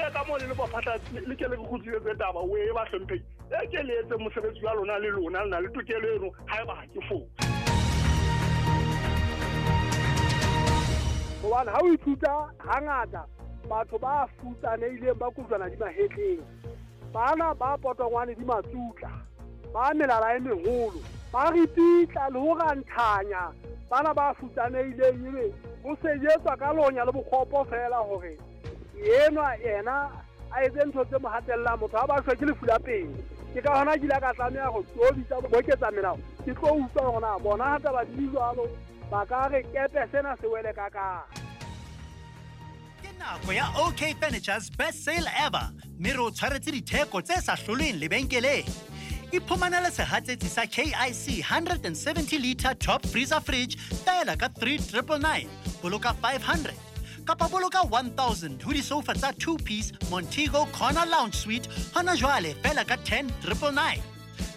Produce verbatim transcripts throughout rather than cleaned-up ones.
ye ka mo le le baphatla le ke le kgutlisetse taba o e ba hlomphehi e ke le etse mosebetsi wa lona le lona le na le tokelo eno haeba ha ke fose. Hobane ha o ithuta hangata batho ba futsanehileng ba kujwana di mahetleng, bana ba potongwane di matsutla, ba melala e meholo, ba ripitla le ho ranthanya bana ba futsanehileng, ebe ho sejetswa ka lonya le bokgopo fela hore enwa yena a etse ntho tse mo hatellang motho ha ba shwe ke lefu la pele. Ke ka hona ke ile ka tlameha ho tobitsa boketsa melao, ke tlo utlwa hore na bona ha taba di jwalo ba ka re kepe sena se wele ka ka. Ke nako ya OK Furniture's best sale ever, mme re o tshwaretse ditheko tse sa hlolweng lebenkeleng. Iphumanele sehatsetsi sa K I C one seventy liter top freezer fridge fela ka three triple nine, boloka five hundred kapa boloka one thousand ho disofa tsa two piece Montego Corner Lounge Suite hona jwale fela ka ten triple nine.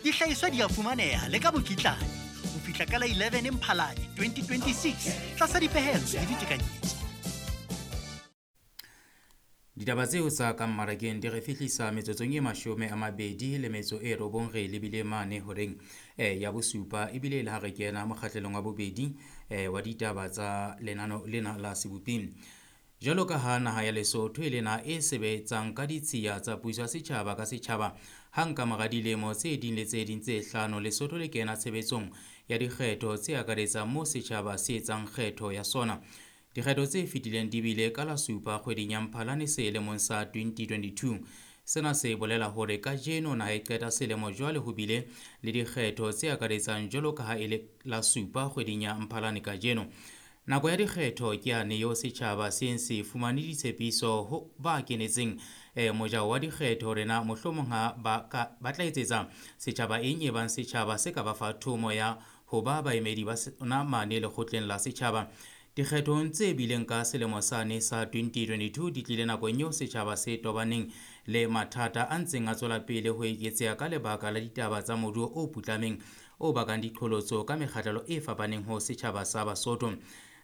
Dihlahiswa di a fumaneha le ka mokitlane ho fihla ka la eleven Mphalane twenty twenty-six tlasa dipehelo le ditekanyetso. Ditaba tseo tsa ka mmarakeng di re fihlisa metsotsong e mashome a mabedi le metso e robong re lebile mane horeng eh, ya bosupa, ebile le ha re kena mokgahlelong wa bobedi eh, wa ditaba tsa lenano lena la seboping. Jwalo ka ha naha ya Lesotho e le naha e sebetsang ka ditshiya tsa puso ya setjhaba ka setjhaba, hang ka mora dilemo tse ding le tse ding tse hlano Lesotho le kena tshebetsong ya dikgetho tse akaretsang moo setjhaba se etsang kgetho ya sona. Dikgetho tse fetileng di bile ka la supa kgweding ya Mphalane selemong sa twenty twenty-two. Sena se bolela hore kajeno naha e qeta selemo jwale ho bile le dikgetho tse akaretsang jwalo ka ha e le la supa kgweding ya Mphalane kajeno. Nako ya dikgetho ke yane eo setjhaba se se fumane ditshepiso ho ba kenetseng eh, mojao wa dikgetho hore na mohlomong ha ba ka ba tla etsetsa setjhaba eng e bang setjhaba se ka ba fa thomo ya ho ba baemedi ba sona mane lekgotleng la setjhaba. Dikgethong tse bileng ka selemo sane sa twenty twenty-two di tlile nakong eo setjhaba se tobaneng le mathata a ntseng a tswela pele ho eketseha ka lebaka la ditaba tsa moruo o putlameng o bakang diqholotso ka mekgahlelo e fapaneng ho setjhaba sa Basotho.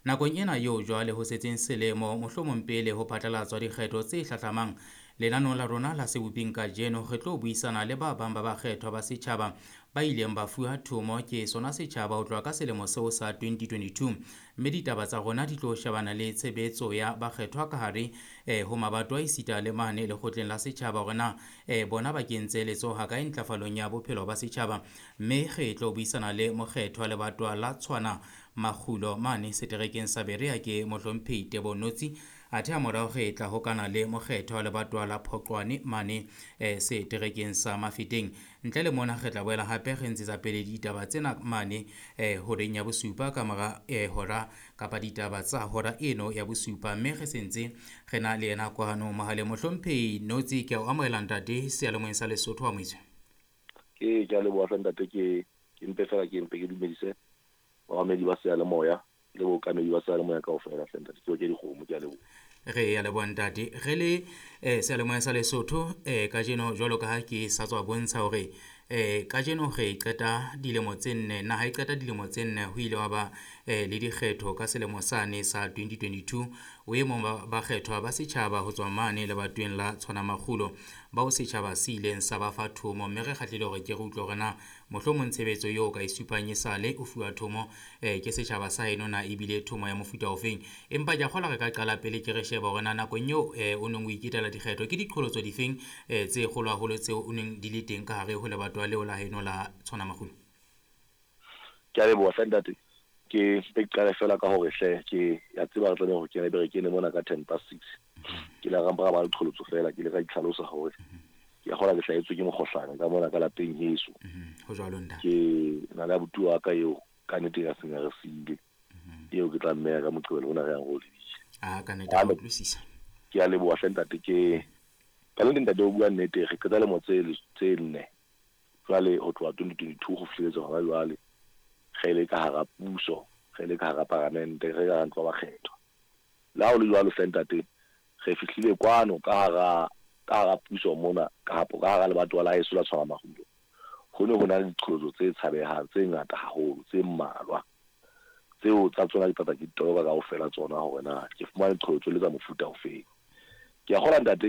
Nakong ena eo jwale ho setseng selemo mohlomong pele ho phatlalatswa dikgetho tse hlahlamang, lenaneo la rona la seboping kajeno re tlo buisana le ba bang ba bakgethwa ba setjhaba ba ileng ba fuwa thomo ke sona setjhaba ho tloha ka selemo seo sa twenty twenty-two, mme ditaba tsa rona di tlo shebana le tshebetso ya bakgethwa ka hare eh, ho mabato a esita le mane lekgotleng la setjhaba hore na eh, bona ba kentse letsoho ha kae ntlafalong ya bophelo ba setjhaba. Mme re tlo buisana le mokgethwa lebatwa la Tshwana Makgulo mane seterekeng sa Berea ke mohlomphehi Tebo Notsi, athe ha morao re tla hokana le mokgethwa lebatwa la Phoqwane mane eh, seterekeng sa Mafeteng. Ntle le mona re tla boela hape re ntshetsa pele ditaba tsena mane eh, horeng ya bosupa ka mora eh, hora kapa ditaba tsa hora eno ya bosupa, mme re sentse re na le yena kwano mohaleng. Mohlomphehi Notsi, ke a o amohela ntate seyalemoyeng sa Lesotho wa Moitswe. Ke ke a leboha ntate, ke ke mpe fela ke mpe ke dumedise bamamedi ba seyalemoya le bookamedi ba seyalemoya kaofela hle ntate, ke ke dikgomo, ke a leboha. Re ya leboha ntate. Re le eh, seyalemoya sa Lesotho eh, kajeno jwalo ka ha ke sa tswa bontsha hore eh, kajeno re qeta dilemo tse nne, naha e qeta dilemo tse nne ho ile wa ba eh, le dikgetho ka selemo sane sa twenty twenty-two. O e mong ba bakgethwa ba setjhaba ho tswa mane lebatoweng la Tshwana Makgulo bao setjhaba se ileng sa ba fa thomo, mme re kgahlile hore ke re utlwe hore na mohlomong tshebetso eo ka e supang e sale o fuwa thomo eh, ke setjhaba sa heno na ebile thomo ya mofuta ofeng. Empa ke a kgolwa re ka qala pele ke re sheba hore na nakong eo eh, o neng o iketela dikgetho ke diqholotso difeng eh, tse kgolo haholo tseo o neng di le teng ka hare ho lebatowa leo la heno la Tshwana Makgulo. Ke a leboha hle ntate. Ke ke qale fela ka hore hle ke ya tseba re tlameha hore ke be re kene mona ka ten past six. Ke la rampa ba leqholotso fela, ke le ka itlhalosa hore ke a kgola ke hlahetswe ke mokgohlane ka mona ka lapeng heso. Ho jwalo ntate. Ke na le abuti wa ka eo ka nnete ya seng re siile. Eo ke tla mmeya ka Moqebelo ona re yang go lebitse. Ah, ka nnete a utlwisisa. Ke a leboha hle ntate, ke ka nnete ntate o bua nnete, re qeta lemo tse tse nne jwale ho tloha twenty twenty-two ho fihletse hona jwale re le ka hara puso, re le ka hara paramente, re ka ntlo ba kgetho. La ho le jwalo hle ntate, re fihlile kwano ka hara ka hara puso mona ka ka hara lebatowa la heso la Tshwana Makgulo. Ho ne ho na le diqholotso tse tshabehang tse ngata haholo tse mmalwa tseo tsa tsona di tlatsa ke ditoroka kaofela tsona hore na ke fumane diqholotso le tsa mofuta ofeng. Ke a kgolwa ntate